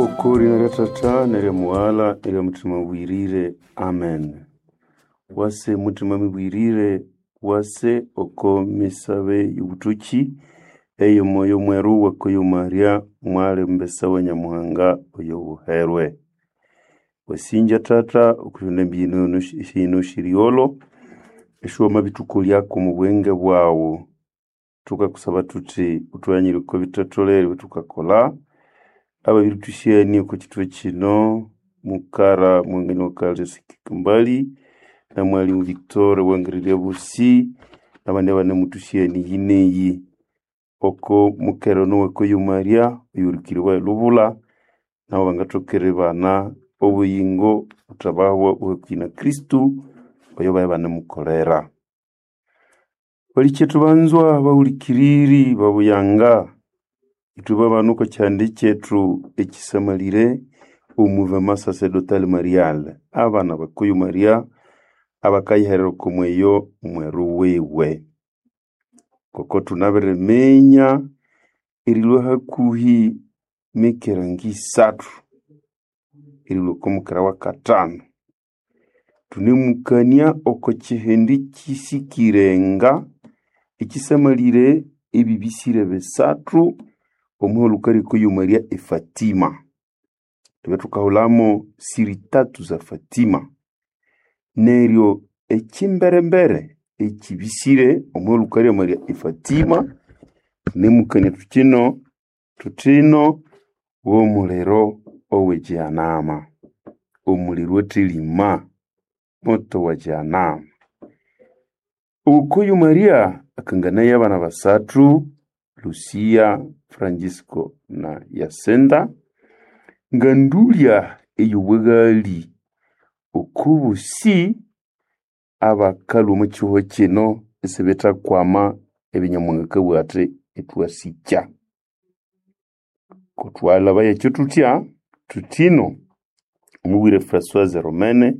Oko lina lya Tata nerya Mughala nerya Mutima Mubwirire. Amen. Wase Mutima Mubwirire, wase oko misabe y'obutoki eyo Moyo Mweru wakoyo Maria mwali mbesa wa Nyamuhanga oyo buherwe. Wasinja Tata okushonda embiyino shino shiriolo eshuwama bituko lyako mu bwenge bwawu. Tukakusaba tuti utwanyire oko bitatolere ebitukakola ababiritusyani oko kitwe kino mukara mwangani wakalesikikambali na mwalimu Victor wangirirya busi nabandi abanemutusyani yineyi oko mukero nowakoyo Maria oyurikiribwa elubula nabo bangatokere bana obuyingo butabahwa obuhakwi na Kristu oyo baye banemukolera. Balikyetu banzwa bahulikiriri babuyanga ithwe babana oko kyihanda kyethu ekisamalire omouvement sacerdotal marial abana bakoyo Maria abakayiherera oko mweyo mweru wiwe. Ngoko thunabiriminya erilhwa hakuhi mikera ngisathu erilhwa oko mukera wakathanu thunemukania oko kyihindi kyisikire nga ekisamalire ebibisire bisathu omuhulukali okoyo Maria e Fatima. Twabya thukahulamo siri tatu za Fatima. Neryo ekyimberembere ekyibisire omuhulukali wa Maria e Fatima thunemukania thukino thuthino w'omuliro owe Jehanama, omuliro owathelima, moto wa Jehanama. Okoyo Maria akanganaya abana basathu, Lucia, Francisco na Yasinta, ngandulya ey'obwaghali okobosi abakalhwa omo kihugho kino isibithakwama ebya Nyamuhanga akabugha athi ithwasikya. Kothwalhabaya ekyo thuthya, thuthino omubwire Françoise Romene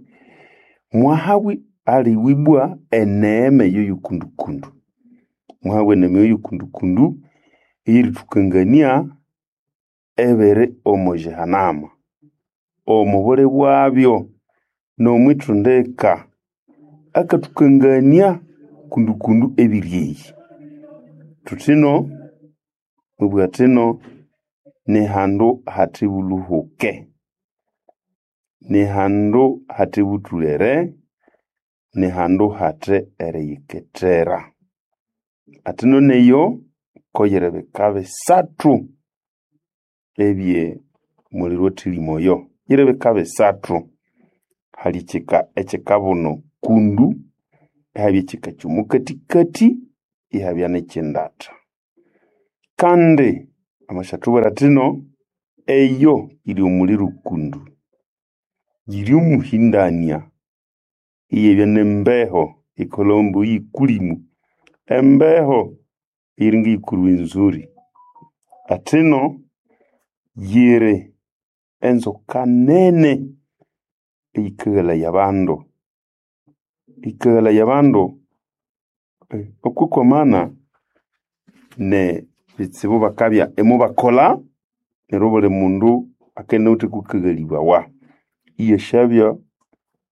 mwahabwa aliwibwa eneema eyo y'okundukundu. Mwahabwa eneema eyo y'okundukundu eyerithukangania ebiri omo Jehanama, omo buli bwabyo n'omwithundika akathukangania kundukundu ebiri eyi. Thuthino mubugha athino nihandu hathe bulhuhuke, nihandu hathe buthulere, nihandu hathe eriyikethera. Athino neyo koyiri bika bisathu ebye muliro owathelima oyo. Yiri bika bisathu. Hali ekyika ekyikabuno kundu, ihabya ekyika ky'omukathikathi, ihabya n'ekyindatha. Kandi amasyathubwira athino eyo yiri omuliro kundu, yiri omuhindania, iyabya n'embeho eyikahulawa ambu y'ekulimu, embeho eyiringa ey'oko Rwenzori. Athino yiri enzoka nene eyikaghalaya abandu, eyikaghalaya abandu okwikwamana ne bitsibu bakabya imubakolha neryo obuli mundu akabya inawithe kwakaghalibawa. Iyasyabya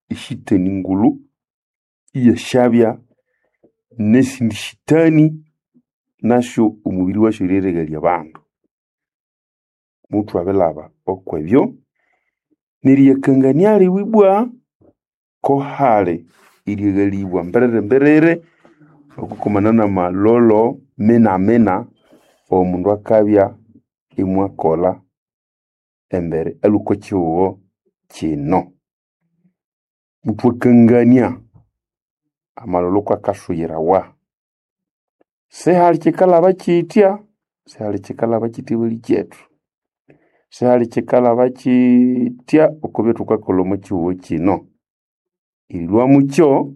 eshitani ngulhu, iyasyabya n'esindi shitani nasyo omubiri wasyo eryerighalya abandu. Muthwabilhaba okwebyo neriyakangania liwe ibwa ko hali eryaghalibwa mbiriri-mbiriri okwikwamana n'amalholo mina-mina omundu akabya imwakolha embere alhwe oko kihugho kino. Muthwakangania amalholo kwakasuyirawa. Sihali kyikalhaba kyitya, sihali kyikalhaba kyitya balikyetu, sihali kyikalhaba kyitya oko byathukakolha omo kihugho kino. Erilhwa mukyo,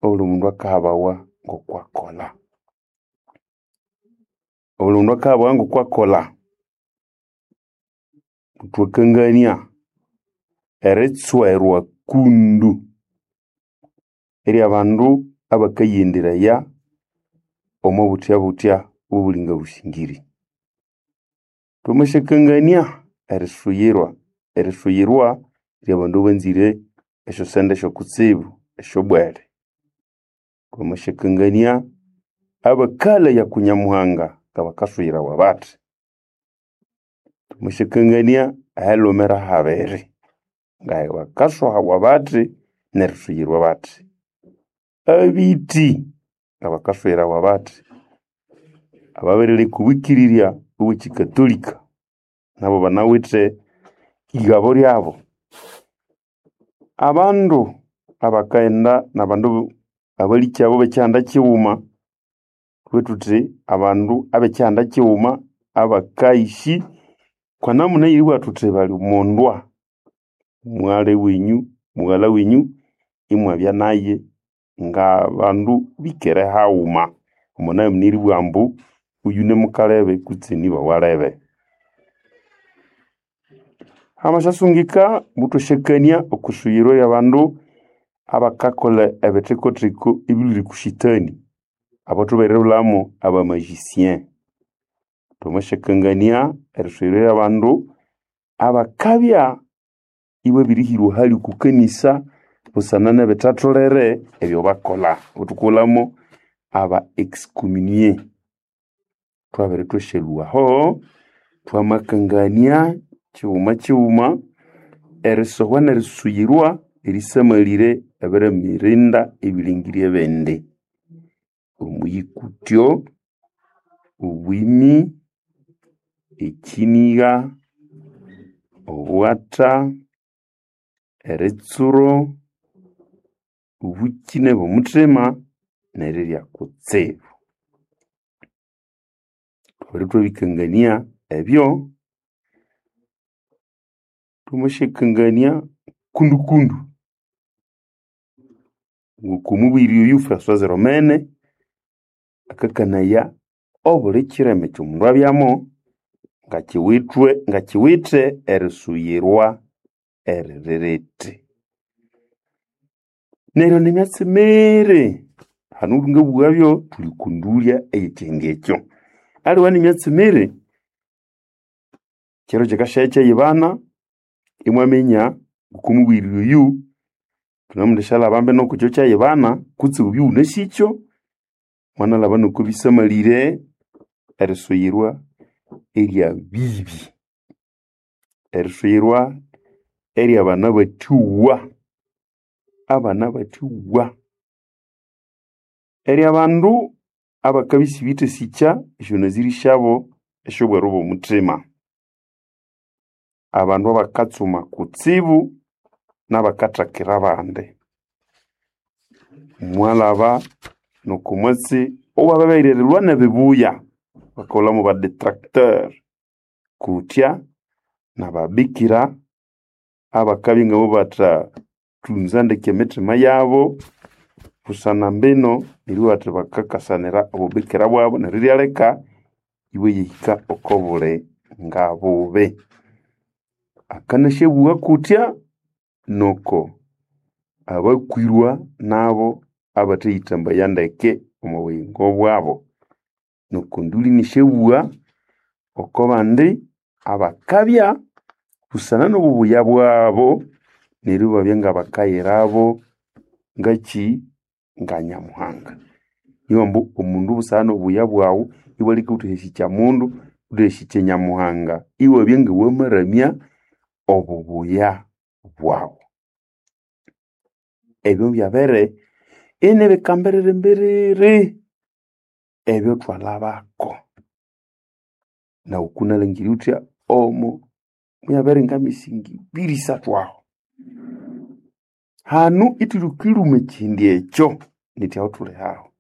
obuli mundu akahabawa ngokwakolha. Obuli mundu akahabawa ngokwakolha. Muthwakangania eritswerwa kundu ery'abandu abakayighenderaya omo buthya-buthya obulinga busingiri. Thwamasyakangania erisuyirwa erisuyirwa ly'abandu abanzire esyosente syokutsibu esyobwere. Twamasyakangania abakalaya ku Nyamuhanga ngabakasuyirawa bathi. Twamasyakangania ahelhumira habiri ngabakasohawa bathi nerisuyirwa bathi. Abithi ngabakasuyirawa bathi. Ababirileka obwikirirya obw'ekyikatolika nabo banawithe igabo lyabo. Abandu abakaghenda n'abandu abalikyabo b'ekyihanda kighuma, thubughe thuthi abandu ab'ekyihanda kighuma abakaishi kwa namuna eyeribugha thuthi bali omondwa, mwali wenyu, mughalha wenyu imwabya naye ng'abandu bikere haghuma omo namuna eribugha ambu oyu ni mukalebe kutse ni iba walebe. Hamasyasungika muthwasyakania okwisuyirwa ly'abandu abakakolha ebithikothiko ebilhwire oku shetani, abo thubiribulhamo aba magicien. Thwamasyakangania erisuyirwa ly'abandu abakabya ibabirihirwa hali oku kanisa busana n'ebithatholere ebyabakolha, abo thukaghulhamo aba excommunié. Thwabere thwasyalhwa aho, thwamakangania kighuma kighuma erisohwa n'erisuyirwa erisamalire ebirimirinda ebilengeryo ebindi: omuyikutyo, obwimi, ekyinigha, obughatha, eritsuro, obukyine bw'omuthima, n'erirya kutsibu. Thwabere thwabikangania ebyo, thwamasyakangania kundukundu ngoko omubwiri oyu François Romene akakanaya obuli kyireme ky'omundu abyamo ngakyiwithwe ngakyiwithe erisuyirwa eriririti. Neryo nemyatsi miri, hanu ngabughabyo thuli oko ndulya ey'ekyihindi ekyo. Aliwe nemyatsi miri, kyiro kyikasyaya kyayibana imwaminya ngoko omubwiri oyu thunemuthasyalyalhaba mbino kukyo kyayibana kutse wubye iwunasikyo, mwanalhaba noko bisamalire erisuyirwa erya bibi, erisuyirwa ery'abana abathuwa, abana abathuwa, ery'abandu abakabya isibithasikya esyonaziri syabo esy'obweru bw'omuthima, abandu abakatsuma kutsibu n'abakathakira abandi. Mwalhaba n'oko mwatsi owababirirwa n'ebibuya, bakaghulhamo ba detracteur, kutya n'ababikira abakabya ingabo bathathunza ndeke emithima yabo busana mbino neribugha bathi bakakasanira obubikira bwabo neryo ibyaleka ibayahika oko buli ngabubi. Akanasyabugha kutya noko abakwirwa nabo abathayithambaya ndeke omo buyingo bwabo. Noko nduli inisyabugha oko bandi abakabya busana n'obubuya bwabo neryo ibabya ngabakayirabo ngakyi nga Nyamuhanga. Nibo ambu omundu busana n'obubuya bwaghu iwaleka ghuthehasikya mundu, ghuthehasikya Nyamuhanga, iwabya ngawamaramya obubuya bwaghu. Ebyo byabere inibikambiriri mbiriri ebyo thwalhabako. Naghu kunalangire ghuthya omo muyabere ngamisingi ibiri isathu aho. Hanu ithulukilhuma ekyindi ekyo nithya aho thuli aho.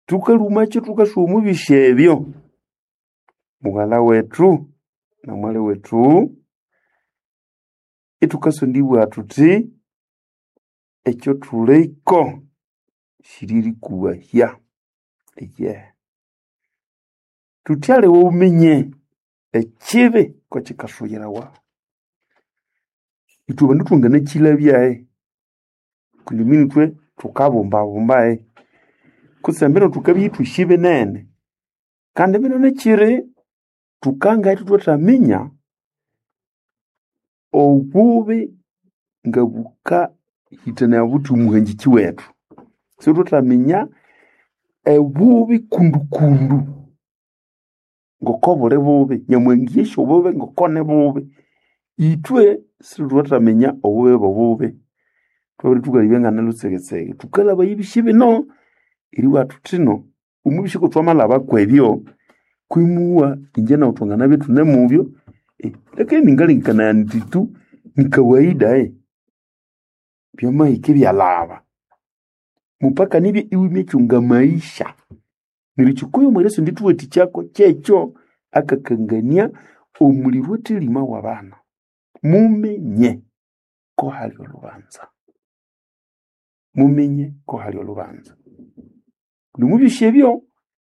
Thukalhumakyo thukasuba omubisi ebyo, mughalha wethu na mwali wethu ithukasondibugha thuthi ekyothuliko siririkubahya eyehe. Thuthi aliwe wuminye ekibi kokikasuyirawa. Ithwe bandu thwanganakyilhabyahi kundi mbino ithwe thukabumbabumbahi kutse mbino thukabya ithwisi binene kandi mbino nekyiri thukanga ithwathaminya. Obubi ngabukahĩtanaya buthi omuhangĩkĩ wethu. Sithwethaminya ebubi kundukundu ngoko buli bubi. Nyamuhanga eyasi obubi ngoko nibubi. Ithwe sithwethaminya obubi bobubi. Thwabere thukalebya ngani lhutsegetsege. Thukalhabaya ebisi bino eribugha thuthi thino omubisi ngokuthwamalhaba kwebyo kwimuwa ingye naghu thwanganabya ithunemubyo lakini ningalengekanaya indi tu ni kawaida byamahika ibyalhaba. Mupaka nibya iwimya maisha. Neryo kyikuyu omwerya sindithuwathikyako kyekyo akakangania omuliro athelima wabana. Muminye ko hali olhubanza. Muminye ko hali olhubanza. Nomubyosi ebyo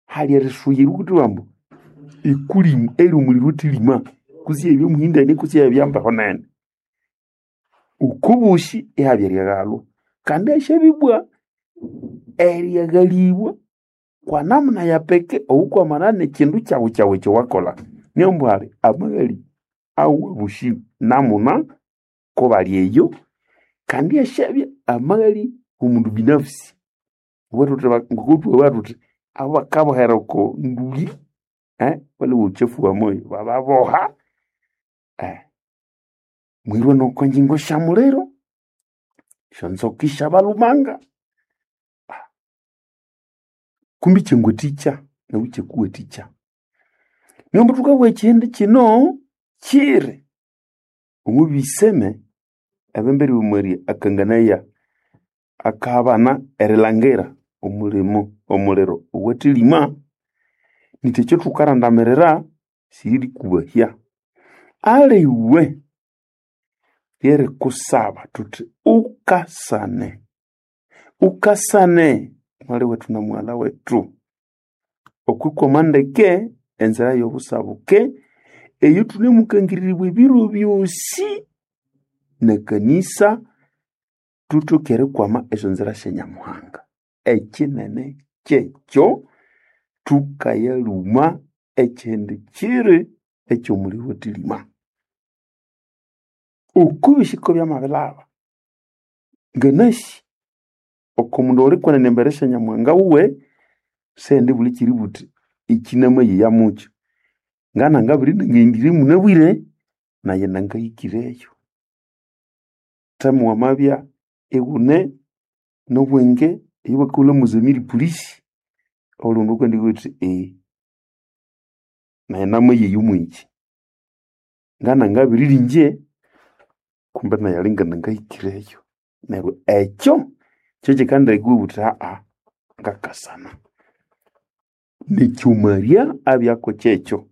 hali erisuyira wukuthibwa ambu ikulimu eri omuliro athelima kutse eribya muhindani kutse eribya mbeho nene. Okobosi ihabya eryaghalwa kandi hasyabibwa eryaghalibwa kwa namuna ya peke owukwamana nekyindu kyaghu kyaghu ekyowakolha. Niyo ambu hali amaghali awabosi namuna kubali eyo kandi hasyabya amaghali womundu binafsi. Ngokuthwabugha thuthi abo bakabohera oko nduli bali uchafu wa moyo bababoha mwirwe noko ngyingo syamuliro esyonzoka isyabalhumanga. Kumbi kyangwathikya naghu ikyakuwathikya. Niyo ambu thukabugha ekyindi kyino kyiri omubiseme ebemberi omweri akanganaya akaha abana erilhangira omulimo omuliro owathelima niti ekyo thukarandamirira siririkubahya. Aliwe lyerikusaba thuthi ukasane, ukasane mwali wethu na mughalha wethu okwikwama ndeke enzira yobusabuke eyothune mukangiriribwa ebiro byosi nekanisa thuthoke erikwama esyonzira sya Nyamuhanga. Ekyinene kyekyo thukayalhuma ekyindi kyiri ekyomuliro athelima. Okubisiko byamabilhaba nganasi oko mundu olikwenene embere sya Nyamuhanga wuwe siyendibulha ekyeribugha wuthi ekyi namayeya mukyo. Ngana ngabiri nangaghendire munabwire nayi nangahikireyo. Themu wamabya ighune nobwenge eyobakahulha mozamiri polisi obuli mundu akandibugha athi nayi namayeya omwekyi. Ngana ngabiriringye kumbe nayi alinga nangahikireyo. Neryo ekyo kyekyikandeka iwabugha wuthi ngakasana. Nekyomalya abyako kyekyo.